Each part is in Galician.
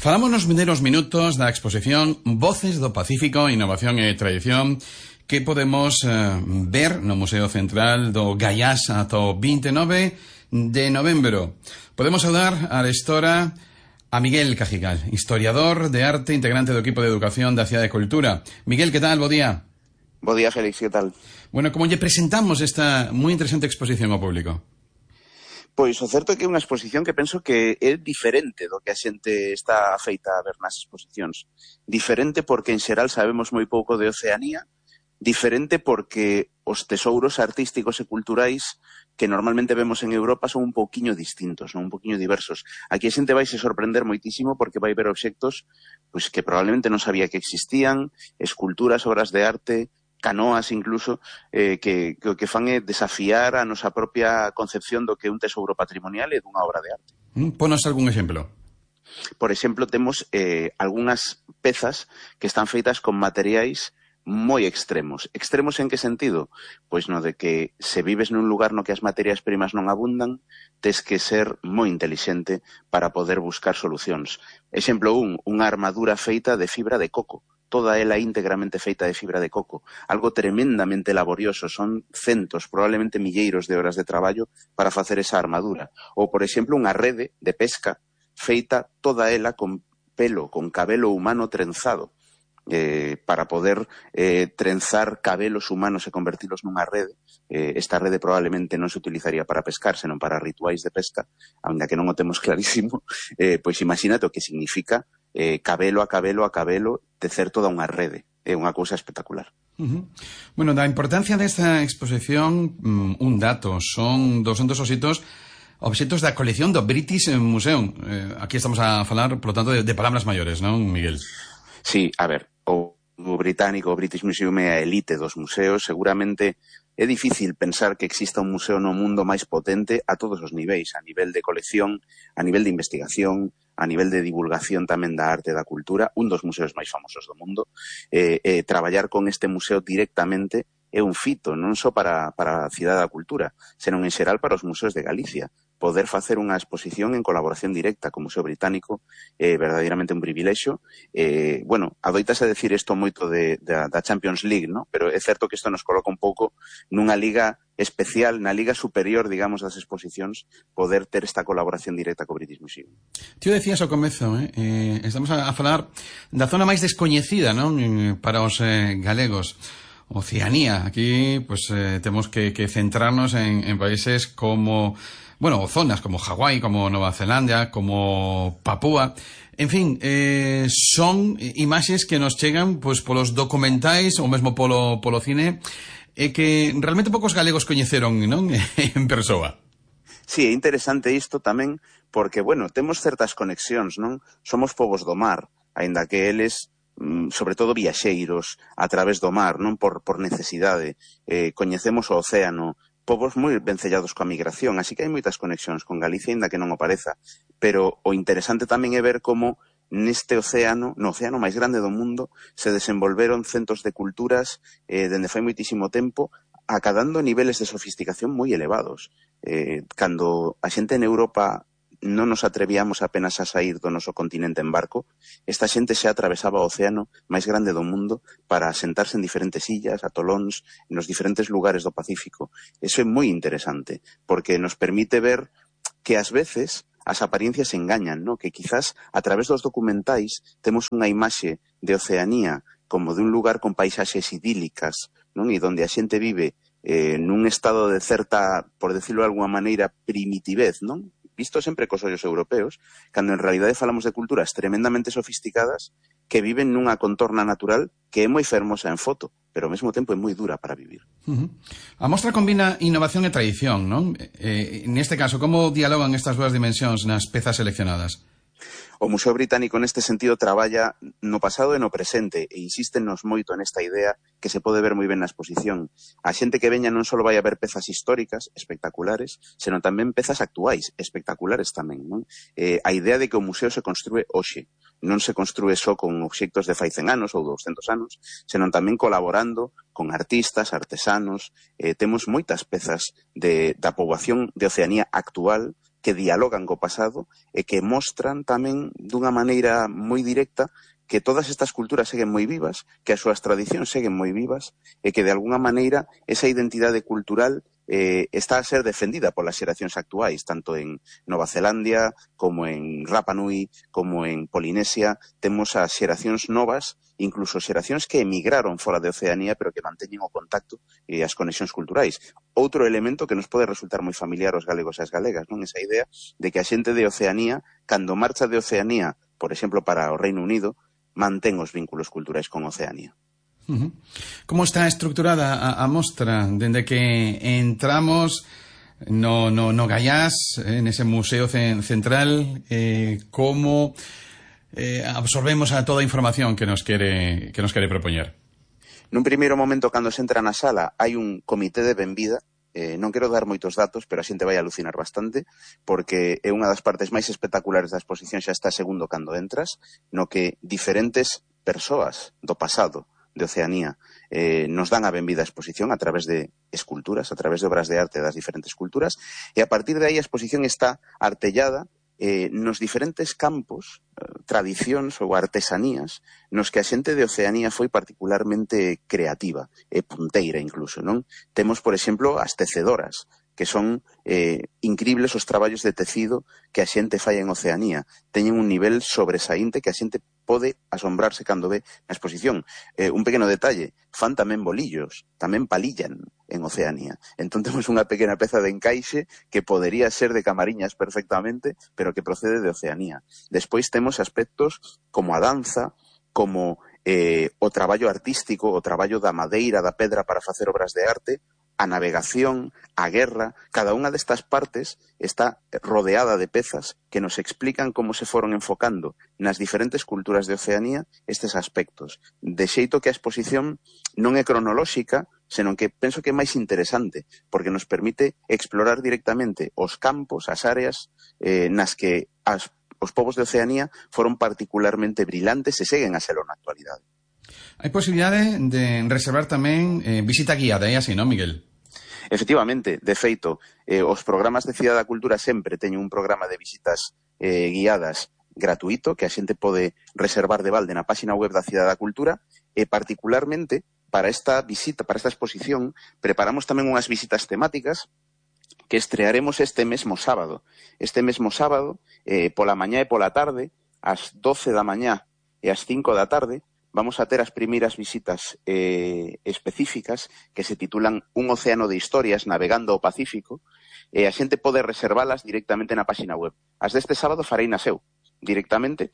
Falamos nos vindeiros minutos da exposición Voces do Pacífico, Innovación e Tradición, que podemos ver no Museo Central do Gaiás ata o 29 de novembro. Podemos saudar a restora a Miguel Cajigal, historiador de arte, integrante do equipo de educación da Cidade de Cultura. Miguel, que tal? Bo día. Bo día, Félix, que tal? Bueno, como lle presentamos esta moi interesante exposición ao público? Pois o certo é que é unha exposición que penso que é diferente do que a xente está feita a ver nas exposicións. Diferente porque en xeral sabemos moi pouco de Oceanía, diferente porque os tesouros artísticos e culturais que normalmente vemos en Europa son un pouquiño distintos, non? Un pouquiño diversos. Aquí a xente vai se sorprender moitísimo porque vai ver obxectos pois, que probablemente non sabía que existían, esculturas, obras de arte, canoas incluso, que fan é desafiar a nosa propia concepción do que é un tesouro patrimonial e dunha obra de arte. Ponos algún exemplo. Por exemplo, temos algunhas pezas que están feitas con materiais moi extremos. Extremos en que sentido? Pois no de que se vives nun lugar no que as materias primas non abundan, tes que ser moi intelixente para poder buscar solucións. Exemplo 1, unha armadura feita de fibra de coco. Toda ela íntegramente feita de fibra de coco. Algo tremendamente laborioso. Son centos, probablemente milleiros de horas de traballo para facer esa armadura. Ou, por exemplo, unha rede de pesca feita toda ela con pelo, con cabelo humano trenzado. Para poder trenzar cabelos humanos e convertilos nunha rede. Esta rede probablemente non se utilizaría para pescar, senón para rituais de pesca, ainda que non o temos clarísimo. Pois imagínate o que significa cabelo a cabelo a cabelo tecer toda unha rede. É unha cousa espectacular. Bueno, da importancia desta exposición, un dato, son 200 obxectos da colección do British Museum. Aquí estamos a falar, por lo tanto, de palabras maiores, non, Miguel? Sí, a ver, o británico, o British Museum é a elite dos museos. Seguramente é difícil pensar que exista un museo no mundo máis potente a todos os niveis, a nivel de colección, a nivel de investigación, a nivel de divulgación tamén da arte e da cultura, un dos museos máis famosos do mundo. Traballar con este museo directamente é un fito, non só para a Cidade da Cultura, senón en xeral para os museos de Galicia. Poder facer unha exposición en colaboración directa co Museo Británico é verdadeiramente un privilexio. Bueno, adoitase decir isto moito da Champions League, ¿no? Pero é certo que isto nos coloca un pouco nunha liga especial, na liga superior, digamos, das exposicións, poder ter esta colaboración directa co British Museum. Tío, decías ao comezo, estamos a falar da zona máis descoñecida, non? Para os galegos. Oceanía. Aquí, pues, temos que centrarnos en países como, bueno, zonas como Hawái, como Nova Zelanda, como Papúa. En fin, son imaxes que nos chegan, pues, polos documentais ou mesmo polo cine, que realmente poucos galegos coñeceron, non? En persoa. Sí, é interesante isto tamén, porque, bueno, temos certas conexións, non? Somos povos do mar, aínda que eles sobre todo viaxeiros a través do mar, non por necesidade. Coñecemos o océano, povos moi vencellados coa migración, así que hai moitas conexións con Galicia, ainda que non o pareza. Pero o interesante tamén é ver como neste océano, no océano máis grande do mundo, se desenvolveron centos de culturas dende fai moitísimo tempo, acadando niveles de sofisticación moi elevados. Cando a xente en Europa non nos atrevíamos apenas a sair do noso continente en barco, esta xente xa atravesaba o océano máis grande do mundo para sentarse en diferentes illas, atolóns, nos diferentes lugares do Pacífico. Eso é moi interesante, porque nos permite ver que ás veces as apariencias engañan, ¿no? Que quizás a través dos documentais temos unha imaxe de Oceanía como de un lugar con paisaxes idílicas, non? E donde a xente vive nun estado de certa, por decirlo de alguma maneira, primitivez, non? Visto sempre cos ollos europeos, cando en realidade falamos de culturas tremendamente sofisticadas que viven nunha contorna natural que é moi fermosa en foto, pero ao mesmo tempo é moi dura para vivir. A mostra combina innovación e tradición, non? Neste caso, como dialogan estas dúas dimensións nas pezas seleccionadas? O Museo Británico neste sentido traballa no pasado e no presente e insístenos moito nesta idea que se pode ver moi ben na exposición. A xente que veña non só vai a ver pezas históricas espectaculares, senón tamén pezas actuais espectaculares tamén, non? A idea de que o museo se construe hoxe. Non se construe só con obxectos de fai 100 anos ou 200 anos, senón tamén colaborando con artistas, artesanos. Temos moitas pezas da poboación de Oceanía actual que dialogan co pasado e que mostran tamén dunha maneira moi directa que todas estas culturas seguen moi vivas, que as súas tradicións seguen moi vivas e que de alguna maneira esa identidade cultural está a ser defendida polas xeracións actuais, tanto en Nova Zelandia como en Rapa Nui, como en Polinesia. Temos as xeracións novas, incluso xeracións que emigraron fora de Oceanía, pero que manteñen o contacto e as conexións culturais. Outro elemento que nos pode resultar moi familiar aos galegos e as galegas, non? Esa idea de que a xente de Oceanía, cando marcha de Oceanía, por exemplo, para o Reino Unido, mantén os vínculos culturais con Oceanía. Como está estructurada a mostra dende que entramos no Gaiás, en ese museo central, como absorbemos a toda a información que nos quere propoñer? Nun primeiro momento, cando se entra na sala, hai un comité de benvida. Non quero dar moitos datos, pero a xente vai alucinar bastante, porque é unha das partes máis espectaculares da exposición, xa está segundo cando entras, no que diferentes persoas do pasado de Oceanía nos dan a benvida á exposición a través de esculturas, a través de obras de arte das diferentes culturas, e a partir de aí a exposición está artellada nos diferentes campos, tradicións ou artesanías nos que a xente de Oceanía foi particularmente creativa e punteira incluso, non? Temos, por exemplo, as tecedoras, que son incribles os traballos de tecido que a xente fai en Oceanía. Teñen un nivel sobresaínte que a xente pode asombrarse cando ve na exposición. Un pequeno detalle, fan tamén bolillos, tamén palillan en Oceanía. Entón temos unha pequena peza de encaixe que podería ser de Camariñas perfectamente, pero que procede de Oceanía. Despois temos aspectos como a danza, como o traballo artístico, o traballo da madeira, da pedra para facer obras de arte, a navegación, a guerra. Cada unha destas partes está rodeada de pezas que nos explican como se foron enfocando nas diferentes culturas de Oceanía estes aspectos. De xeito que a exposición non é cronolóxica, senón que penso que é máis interesante, porque nos permite explorar directamente os campos, as áreas nas que os povos de Oceanía foron particularmente brillantes e seguen a selo na actualidade. Hai posibilidade de reservar tamén visita guiada, é así, non, Miguel? Efectivamente, de feito, os programas de Cidade da Cultura sempre teñen un programa de visitas guiadas gratuito que a xente pode reservar de balde na páxina web da Cidade da Cultura e particularmente para esta visita, para esta exposición, preparamos tamén unhas visitas temáticas que estrearemos este mesmo sábado. Este mesmo sábado, pola mañá e pola tarde, ás 12 da mañá e ás 5 da tarde, vamos a ter as primeiras visitas específicas que se titulan Un océano de historias navegando o Pacífico, e a xente pode reservalas directamente na páxina web. As deste sábado farei na seu, directamente,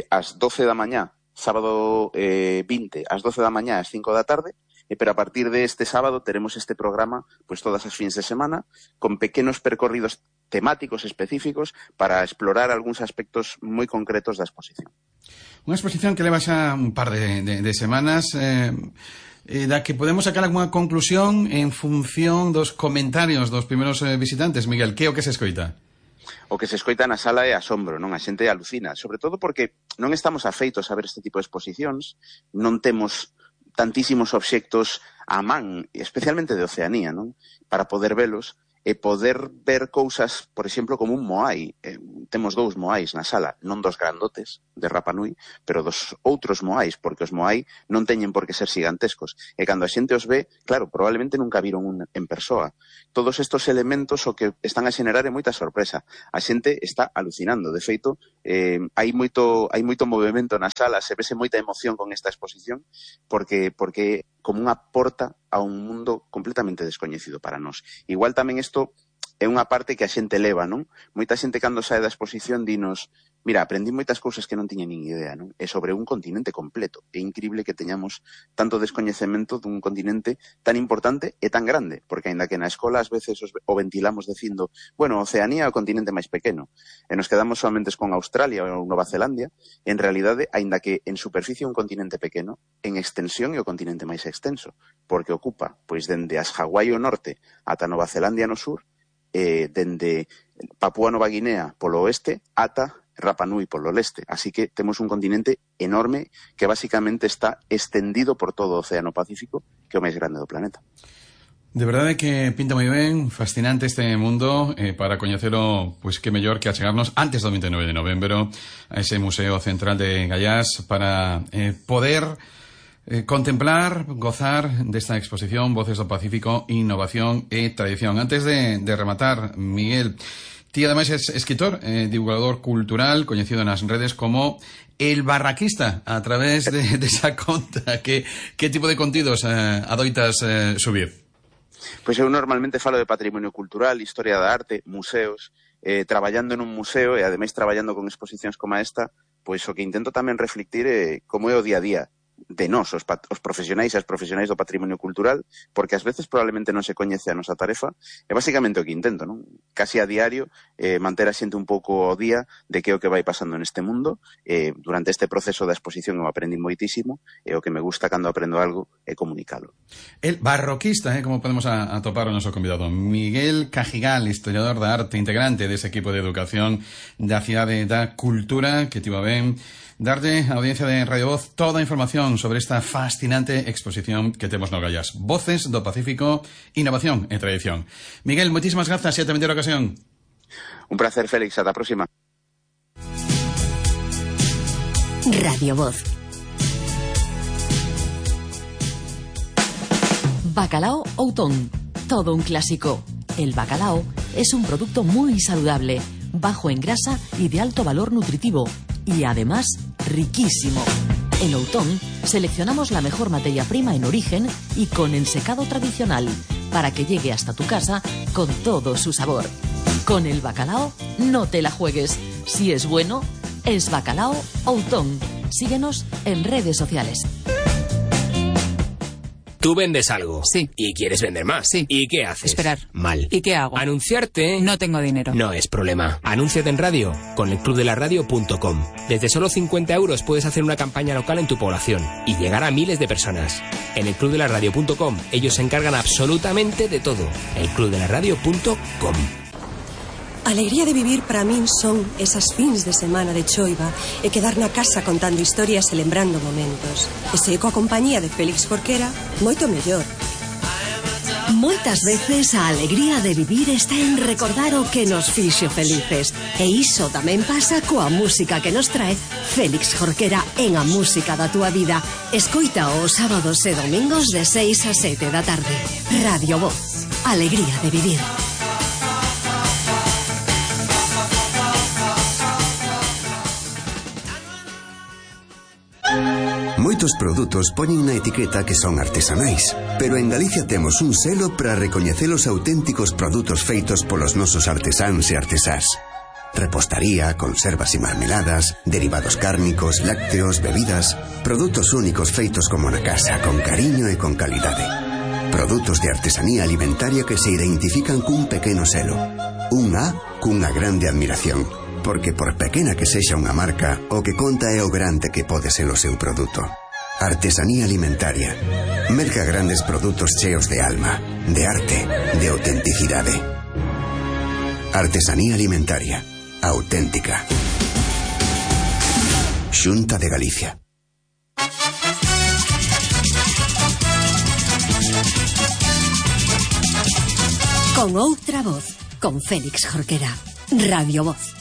ás 12 da mañá, sábado 20, ás 12 da mañá, ás 5 da tarde, pero a partir de este sábado teremos este programa pues todas as fins de semana, con pequenos percorridos temáticos específicos para explorar algúns aspectos moi concretos da exposición. Unha exposición que leva xa un par de semanas, da que podemos sacar algunha conclusión en función dos comentarios dos primeiros visitantes. Miguel, que é o que se escoita? O que se escoita na sala é asombro, non? A xente alucina, sobre todo porque non estamos afeitos a ver este tipo de exposicións, non temos tantísimos obxectos á man, especialmente de Oceanía, non? Para poder velos e poder ver cousas, por exemplo, como un moai. Temos dous moais na sala, non dos grandotes de Rapa Nui, pero dos outros moais, porque os moai non teñen por que ser gigantescos. E cando a xente os ve, claro, probablemente nunca viron un en persoa. Todos estos elementos o que están a xenerar é moita sorpresa. A xente está alucinando. De feito, hai moito movimento na sala, se vese moita emoción con esta exposición, porque como unha porta a un mundo completamente descoñecido para nós. Igual tamén isto é unha parte que a xente leva, non? Moita xente cando sae da exposición dinos, mira, aprendí moitas cousas que non tiña nin idea, non? É sobre un continente completo. É increíble que teñamos tanto descoñecemento dun continente tan importante e tan grande, porque aínda que na escola ás veces o ventilamos dicindo, bueno, Oceanía é o continente máis pequeno, e nos quedamos solamente con Australia ou Nova Zelandia, en realidade, aínda que en superficie é un continente pequeno, en extensión é o continente máis extenso, porque ocupa, pois, dende as Hawái ao norte ata Nova Zelandia no sur, dende Papúa Nova Guinea polo oeste ata Rapa Nui polo leste. Así que temos un continente enorme que basicamente está extendido por todo o Océano Pacífico, que é o máis grande do planeta. De verdade que pinta moi ben, fascinante este mundo, para coñecelo, pois que mellor que achegarnos antes do 29 de novembro a ese Museo Central de Gaiás para poder contemplar, gozar desta exposición Voces do Pacífico, Innovación e Tradición. Antes de rematar, Miguel, ti ademais es escritor, divulgador cultural, coñecido nas redes como El Barraquista, a través de esa conta. Que tipo de contidos adoitas subir? Pois eu normalmente falo de patrimonio cultural, historia da arte, museos, traballando en un museo e ademais traballando con exposicións como esta, pois o que intento tamén reflectir é como é o día a día de nós, os profesionais e as profesionais do patrimonio cultural, porque ás veces probablemente non se coñece a nosa tarefa, e basicamente o que intento, non? Casi a diario, manter a xente un pouco ao día de que é o que vai pasando neste mundo. Durante este proceso da exposición eu aprendi moitísimo, e o que me gusta cando aprendo algo é comunicalo. El Barroquista, como podemos atopar o noso convidado, Miguel Cajigal, historiador da arte, integrante dese equipo de educación da Cidade da Cultura, que tivo ben darlle a audiencia de Radio Voz toda a información sobre esta fascinante exposición que temos no Gaiás. Voces do Pacífico, Innovación e Tradición. Miguel, moitísimas grazas e ata vindeira ocasión. Un placer, Félix. Ata a próxima. Radio Voz. Bacalao Outón. Todo un clásico. El bacalao es un producto muy saludable, bajo en grasa y de alto valor nutritivo. Y además, riquísimo. En Outón seleccionamos la mejor materia prima en origen y con ensecado tradicional para que llegue hasta tu casa con todo su sabor. Con el bacalao no te la juegues. Si es bueno, es Bacalao Outón. Síguenos en redes sociales. Tú vendes algo. Sí. Y quieres vender más. Sí. ¿Y qué haces? Esperar. Mal. ¿Y qué hago? Anunciarte. No tengo dinero. No es problema. Anúnciate en radio con elclubdelaradio.com. Desde solo 50 € puedes hacer una campaña local en tu población y llegar a miles de personas. En elclubdelaradio.com ellos se encargan absolutamente de todo. elclubdelaradio.com. Alegría de vivir para min son esas fins de semana de choiva e quedar na casa contando historias e lembrando momentos. E se coa compañía de Félix Jorquera, moito mellor. Moitas veces a alegría de vivir está en recordar o que nos fixo felices. E iso tamén pasa coa música que nos trae Félix Jorquera en A Música da Túa Vida. Escoita os sábados e domingos de 6 a 7 da tarde. Radio Voz. Alegría de vivir. Moitos produtos poñen na etiqueta que son artesanais, pero en Galicia temos un selo para recoñecer os auténticos produtos feitos polos nosos artesáns e artesás. Repostaría, conservas e marmeladas, derivados cárnicos, lácteos, bebidas, produtos únicos feitos como na casa, con cariño e con calidade. Produtos de artesanía alimentaria que se identifican cun pequeno selo. Un A cunha grande admiración. Porque por pequena que sexa unha marca, o que conta é o grande que pode ser o seu produto. Artesanía alimentaria. Merca grandes produtos cheos de alma, de arte, de autenticidade. Artesanía alimentaria. Auténtica. Xunta de Galicia. Con outra voz, con Félix Jorquera. Radio Voz.